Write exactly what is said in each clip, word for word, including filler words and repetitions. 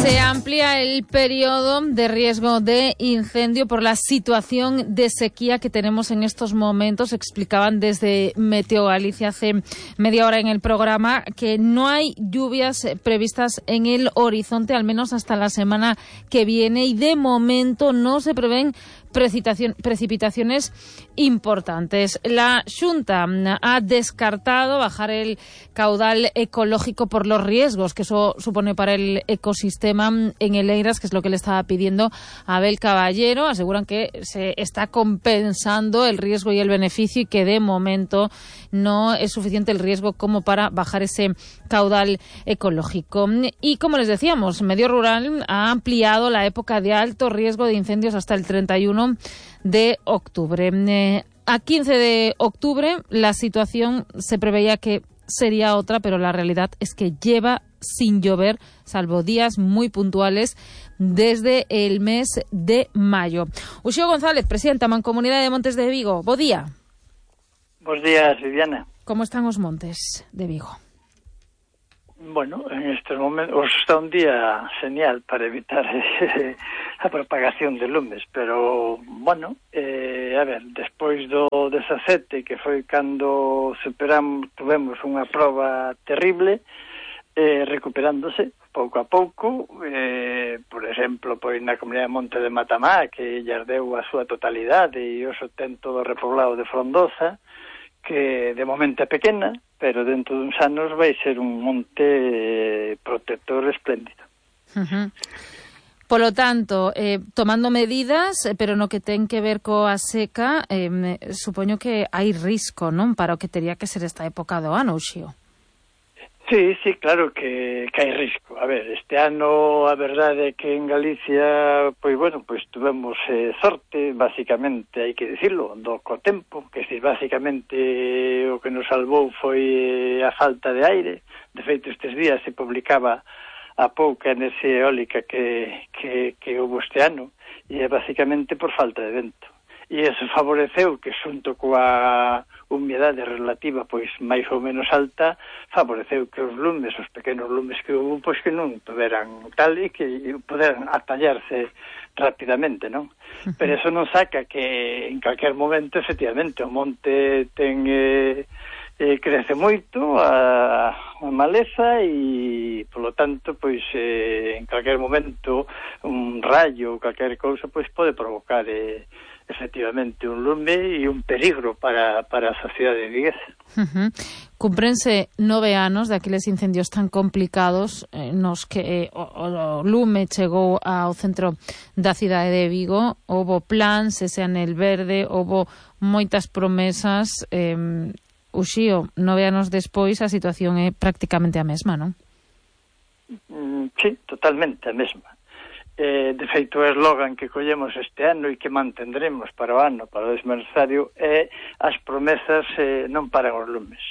Se amplía el periodo de riesgo de incendio por la situación de sequía que tenemos en estos momentos. Explicaban desde Meteo Galicia hace media hora en el programa que no hay lluvias previstas en el horizonte, al menos hasta la semana que viene, y de momento no se prevén precipitaciones importantes. La Xunta ha descartado bajar el caudal ecológico por los riesgos que eso supone para el ecosistema en el Eiras, que es lo que le estaba pidiendo a Abel Caballero. Aseguran que se está compensando el riesgo y el beneficio y que de momento no es suficiente el riesgo como para bajar ese caudal ecológico. Y como les decíamos, Medio Rural ha ampliado la época de alto riesgo de incendios hasta el treinta y uno de octubre. Eh, a quince de octubre la situación se preveía que sería otra, pero la realidad es que lleva sin llover, salvo días muy puntuales, desde el mes de mayo. Uxío González, presidenta Mancomunidade de Montes de Vigo. Bo día. Bos días, Viviana. Como están os montes de Vigo? Bueno, en estes momentos está un día genial para evitar eh, a propagación de lumes, pero, bueno, eh, a ver, despois do dezasete, que foi cando superamos, tuvemos unha proba terrible, eh, recuperándose pouco a pouco, eh, por exemplo, pois na comunidade de Monte de Matamá, que lle deu a súa totalidade e hoxe ten todo o repoblado de Frondosa, que de momento é pequena, pero dentro duns anos vai ser un monte eh, protector espléndido. Uh-huh. Polo tanto, eh, tomando medidas, pero no que ten que ver coa seca, eh, supoño que hai risco, non? Para o que teria que ser esta época do ano, Uxío. Sí, sí, claro que, que hai risco. A ver, este ano a verdade é que en Galicia, pois bueno, pois tuvemos eh, sorte, basicamente, hai que dicirlo, do co tempo, que si basicamente o que nos salvou foi eh, a falta de aire. De feito, estes días se publicaba a pouca enerxía eólica que, que, que houve este ano, e é basicamente por falta de vento. E eso favoreceu que, xunto coa humedade relativa pois máis ou menos alta, favoreceu que os lumes, os pequenos lumes que houve, pois que non poderan tal e que poderan atallarse rapidamente, non? Pero eso non saca que en calquer momento, efectivamente, o monte ten eh, eh, crece moito a, a maleza e, polo tanto, pois eh, en calquer momento un rayo ou calquer cousa pois pode provocar eh, efectivamente un lume e un peligro para, para a sociedade viguesa. Uh-huh. Cumprense nove anos daqueles incendios tan complicados eh, nos que eh, o, o lume chegou ao centro da cidade de Vigo. Houbo plans, ese anel verde, houbo moitas promesas. eh, Uxío, nove anos despois a situación é prácticamente a mesma, non? Mm, sí, totalmente a mesma. Eh, de feito, o eslogan que collemos este ano e que mantendremos para o ano, para o desmerzario, é as promesas eh, non paran os lumes.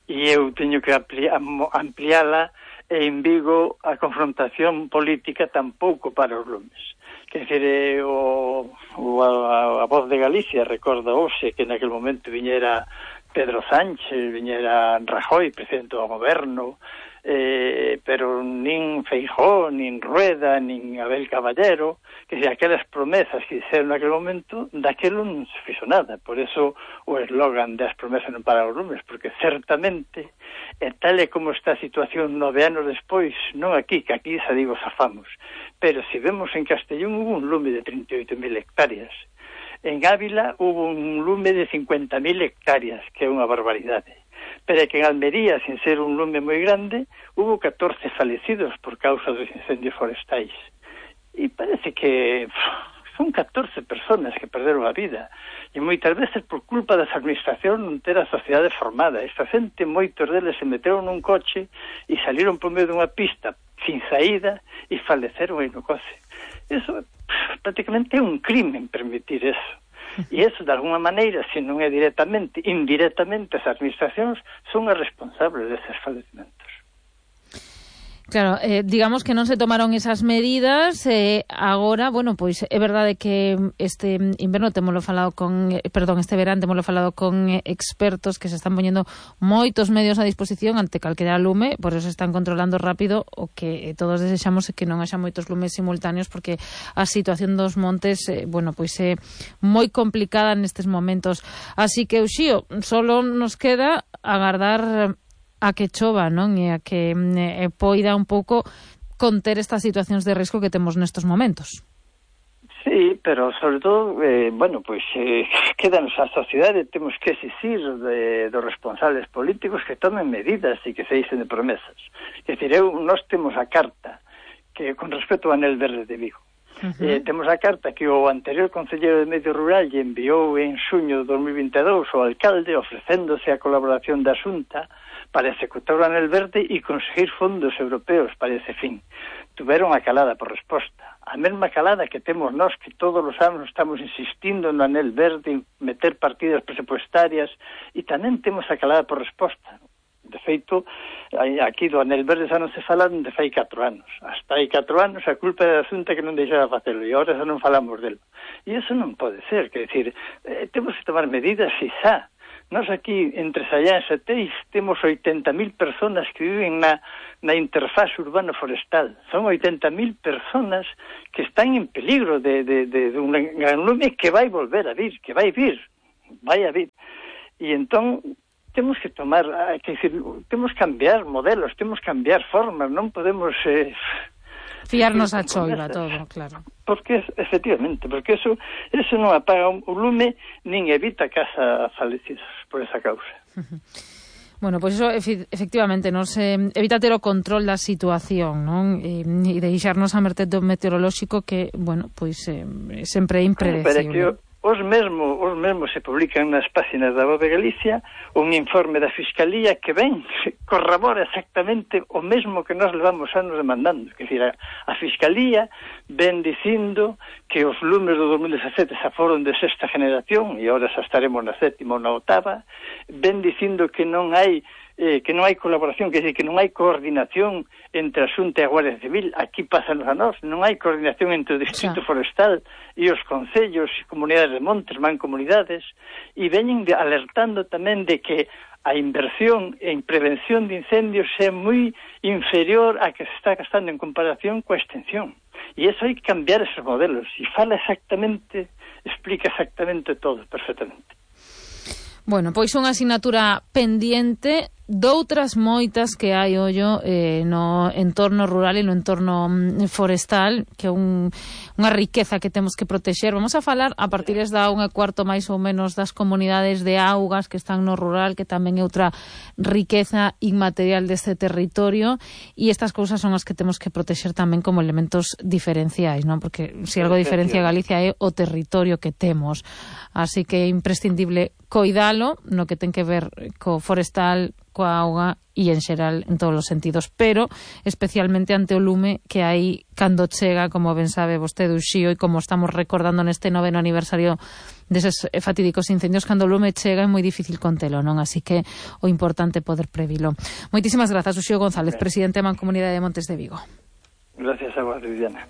E eu teño que ampliala e en Vigo a confrontación política tampouco para os lumes. Quer dizer, eh, o, o, a, a Voz de Galicia recorda hoxe que naquele momento viñera Pedro Sánchez, viñera Rajoy, presidente do goberno, Eh, pero nin Feijóo, nin Rueda, nin Abel Caballero, que se aquelas promesas que hicieron naquele momento, daquelo non se fixo nada. Por eso o eslogan das promesas non para os lumes, porque certamente, e tal e como está a situación nove anos despois, non aquí, que aquí xa digo zafamos, pero se vemos en Castellón hubo un lume de trinta e oito mil hectáreas. En Ávila hubo un lume de cincuenta mil hectáreas, que é unha barbaridade. Pero que en Almería, sin ser un lume moi grande, hubo catorce falecidos por causa dos incendios forestais. E parece que pff, son catorce personas que perderon a vida. E moitas veces por culpa das administracións non ter a sociedade formada. Esta xente, moitos deles se meteron nun coche e saliron por medio dunha pista sin saída e faleceron aí no coche. Eso pff, prácticamente é un crimen permitir eso. E eso, de alguna maneira, se non é directamente, indirectamente, as administracións son as responsables deses falecimentos. Claro, eh, digamos que non se tomaron esas medidas, eh, agora, bueno, pois é verdade que este inverno temolo falado con, eh, perdón, este verán temolo falado con eh, expertos que se están poñendo moitos medios a disposición ante calquera lume, por eso están controlando rápido. O que todos desexamos é que non haxa moitos lumes simultáneos, porque a situación dos montes, eh, bueno, pois é moi complicada nestes momentos. Así que, Uxío, solo nos queda agardar a que chova, non? E a que eh, poida un pouco conter estas situacións de risco que temos nestes momentos. Sí, pero sobre todo, eh, bueno, pois eh, quedanos a sociedade, temos que exigir de, dos responsables políticos que tomen medidas e que se isen de promesas. É dicir, eu, nós temos a carta que con respecto ao Anel Verde de Vigo. Uh -huh. eh, temos a carta que o anterior concelleiro de Medio Rural lle enviou en xuño de dos mil vinte e dous ao alcalde ofrecéndose a colaboración da Xunta para executar o Anel Verde e conseguir fondos europeos para ese fin. Tuveron a calada por resposta. A mesma calada que temos nós, que todos os anos estamos insistindo no Anel Verde, meter partidas presupuestarias, e tamén temos a calada por resposta. De feito, aquí do Anel Verde xa non se fala de fai catro anos. Hasta hai catro anos a culpa é da Xunta que non deixaba facelo, e agora xa non falamos delo. E iso non pode ser, que decir, eh, temos que tomar medidas e xa. Nós aquí, entre Sallán e Seteis, temos oitenta mil personas que viven na, na interfaz urbano-forestal. Son oitenta mil personas que están en peligro de, de, de, de un gran lume que vai volver a vir, que vai vir, vai a vir. E entón, temos que tomar, que decir, temos que cambiar modelos, temos que cambiar formas, non podemos... Eh, fiarnos a choiva todo, claro. Porque, efectivamente, porque eso, eso non apaga un lume, nin evita que haxa fallecidos por esa causa. Bueno, pois pues iso efectivamente nos eh, evita ter o control da situación, non? E, e deixarnos a merced do meteorolóxico que, bueno, pois pues, eh, sempre é impredecible. Os mesmo, os mesmo se publican nas páxinas da Voz de Galicia un informe da Fiscalía que ven, corrobora exactamente o mesmo que nós levamos anos demandando. Que decir, a, a Fiscalía ven dicindo que os lumes do dos mil dezasete xa foron de sexta generación e agora xa estaremos na sétima ou na octava. Ven dicindo que non hai eh, que non hai colaboración, que, decir, que non hai coordinación entre a Xunta e a Guardia Civil. Aquí pásanos a nós, non hai coordinación entre o Distrito sí. Forestal e os concellos e comunidades de montes, mancomunidades, e veñen de, alertando tamén de que a inversión en prevención de incendios é moi inferior a que se está gastando en comparación coa extensión. E eso hai que cambiar esos modelos, e fala exactamente, explica exactamente todo, perfectamente. Bueno, pois unha asignatura pendiente doutras moitas que hai, ollo, eh, no entorno rural e no entorno forestal, que é un, unha riqueza que temos que protexer. Vamos a falar a partir da unha cuarto máis ou menos das comunidades de augas que están no rural, que tamén é outra riqueza inmaterial deste territorio, e estas cousas son as que temos que protexer tamén como elementos diferenciais, non? Porque se algo diferencia Galicia é o territorio que temos. Así que é imprescindible coidalo no que ten que ver co forestal, coa auga e en xeral en todos os sentidos, pero especialmente ante o lume que hai cando chega, como ben sabe vostede, Uxío, e como estamos recordando neste noveno aniversario deses fatídicos incendios, cando o lume chega é moi difícil contelo, non? Así que o importante é poder previlo. Moitísimas grazas, Uxío González, presidente da Mancomunidade de Montes de Vigo. Gracias a vos, Viviana.